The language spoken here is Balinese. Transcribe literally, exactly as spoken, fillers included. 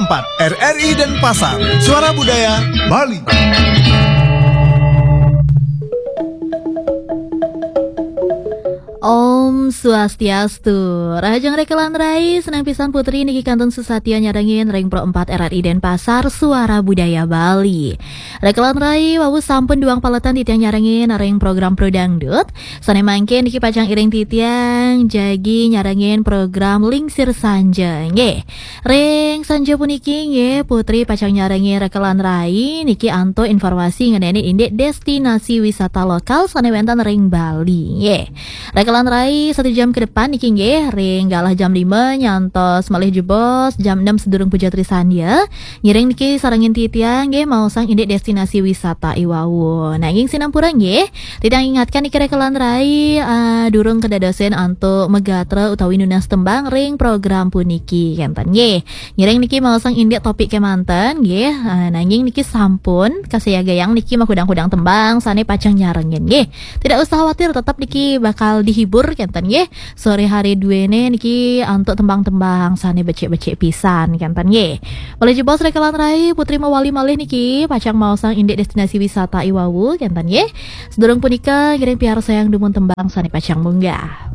empat R R I Denpasar, Suara Budaya Bali. Om Swastiastu. Rahajeng Rekelan Rai, senang pisan Putri niki kantun susatia nyarengin ring Pro empat R R I Denpasar, Suara Budaya Bali. Rekelan Rai, wau sampun duang paletan titiang nyarengin ring program Pro Dangdut. Sane mangkin niki pacang iring titiang jagi nyarengin program Lingsir Sanja. Nggih. Ring sanja puniki nggih Putri pacang nyarengin Rekelan Rai niki antuk informasi ngenani indik destinasi wisata lokal sane wenten ring Bali. Nggih. Rekelan Rai satu jam ke depan niki nggih ring galah jam lima nyantos malih jebos jam enam sedurung puja trisandya. Ngiring niki sarengin titiang nggih maosang indik destinasi wisata iwau. Nanging sinampura nggih, titiang ingatkan niki Rekelan Rai, ah, durung kedadosin antuk megatra utawi nunas tembang ring program puniki kenten nggih. Ngiring niki maosang indik topik kemanten nggih, ah, nanging niki sampun kasayagayang niki makudang-kudang tembang sane pacang nyarengin nggih. Tidak usah khawatir, tetap niki bakal dihibur kenten nggih. Sore hari duene niki antuk tembang-tembang sane becik-becik pisan kenten nggih. Malih jebos Rekelan Rai, Putri mawali malih niki pacang maosang indik destinasi wisata iwau kenten nggih. Sedurung punika ngiring piarsayang dumun tembang sane pacang munggah.